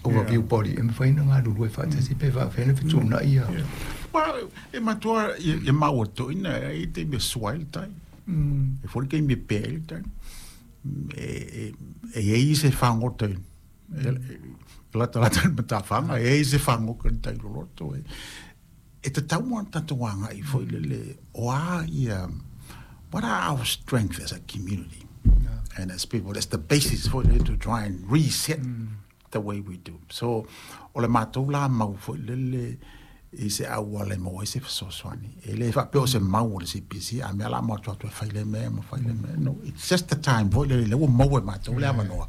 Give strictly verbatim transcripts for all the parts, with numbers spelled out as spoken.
Overview body e mafai ona galulue faatasi pe faafefea ona fetuunai ia. Well, e matua e maua toina e te me sua le tai. E fori ke me pe le tai. E e e i se fagota e lata lata ma ta fanga e i se fagota tai loloto e e te tau ana tatou agai foi lele o a ia what are our strengths as a community and as people. That's the basis for it to try and reset mm. the way we do. So o le matou la mau foi lele i se auala e maua ai se fesoasoani. E le faapea o se mau o le C P C, a mea la mo atu atu e fai le mea ma fai le mea. No, it's just the time foi lele le ua maua e matou le avanoa.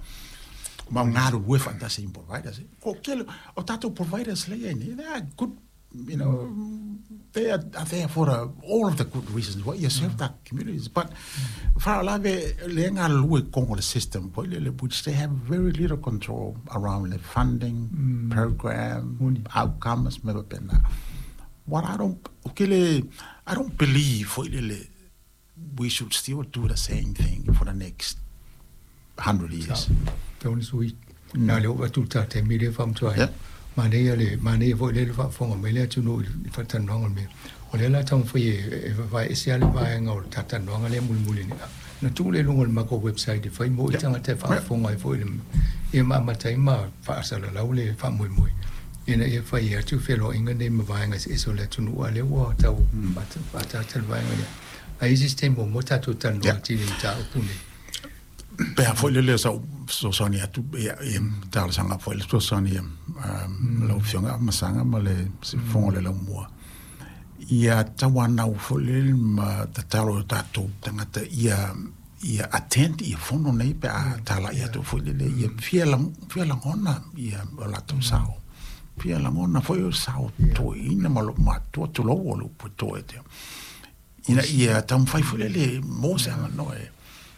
Ma o galulue faatasi i providers. Ko kele o tatou providers lea i nei, they are good, you know, they are there for the, all of the good reasons why you serve the communities. But faalavelave le galulue i totonu o le system foi lele, which they have very little control around the funding, mm. program, outcomes, me faapena. What I don't, okay, I don't believe foi lele we should still do the same thing for the next hundred years. Tau ni sui. Na le o atu ta te mi le faamanatu ai. Manaia le manaia foi le faafofoga mai le atunuu i le faatalanoaga o le mea. O lea la taumafai e vaeese lava le vaega o le talanoaga lea mulimuli nei. Na tuu lea i luga o le matou website e fai mo i tagata e faafofoga ai foi ia ma amata ai ma faasalalau le faamoemoe ina ia fai atu feloaiga nei ma vaega eseese o le atunuu a lea ua tau faataata le vaega lea. Ae i isi taimi muamua tatou talanoa atili i mataupu nei. Pe a foi lele sa fesoasoani atu ia ia talosaga foi le fesoasoani lau Afioga Masaga ma le fofoga o le laumua ia tauanau foi lele ma tatalo i o tatou tagata ia ia attend ia fono nei pe a talai atu foi lele ia fia fia lagona ia o latou sao fia lagona foi o sao toeaina ma loo matua tulou o le upu e toe te ina ia taumafai foi lele mo se avanoa e.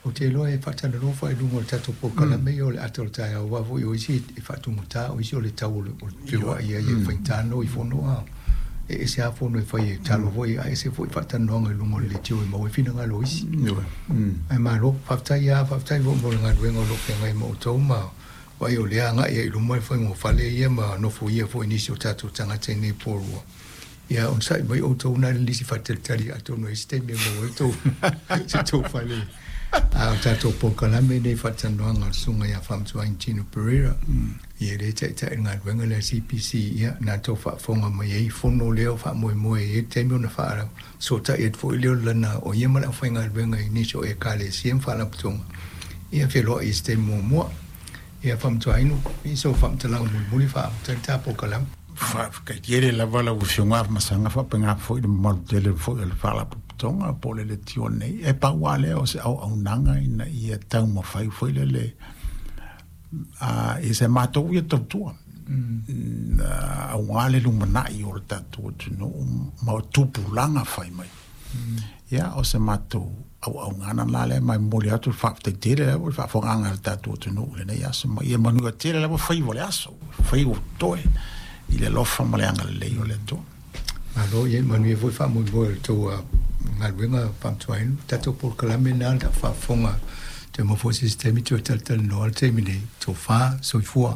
Ou te iloa e faatalanoa foi i luga o le tatou polokalame ia o le ata o le taeao aua foi o isi e faatugata, o isi o le tau o le feoai ai e faigata ona o i fono a e ese lava fono e fai e talo foi a ese foi faatalanoaga i luga o le leitio e maua ai finagalo o isi. Ae malo, faafetai lava, faafetai foi mo le galuega o lo o feagai ma outou ma vaai o lea agai ai i luma le faigofale ia ma nofoia foi nisi o tatou tagata i nei po ua. Ia onosai mai outou na le lisi faatalitali atonu e i ai se taimi e maua ai tou se tou fale. A o tatou polokalame nei faatalanoaga o le Susuga ia Faamanatuaina Tino Pereira, ia lea e taitai i le galuega lea a le C P C, ia na tou faafofoga mai ai i fono lea o faamoemoe i ai le taimi ona faasootai atu foi lea o lana o ia ma le aufaigaluega i nisi o Ekalesia ma Faalapotopotoga, ia feloai i se taimi muamua. Ia Faamanatuaina, i so faamatalaga mulimuli faaamata ai le ta polokalame. Faafetai tele lava lau Afioga Masaga faapena foi le mamalu tele foi o le Faalapotopotoga po o le leitio nei. E pau lava lea o se auaunaga ina ia taumafai foi lele a i se matou ia tautua aua le lumanai o le tatou atunuu ma o tupulaga fai mai. Ia o se matou auaunaga la lea ma e momoli atu le faafetai tele lava i le faafofogaaga a le tatou atunuu i lenei aso ma ia manuia tele lava faiva o le aso, faiva o totoe i le alofa ma le agalelei o le Atua. Malo, ia manuia foi faamoemoe o le tou galuega faamanatuaina. Tatou polokalame na le faafofoga te maua foi se isi taimi toe talatalanoa le taimi nei. Tofa, soifua.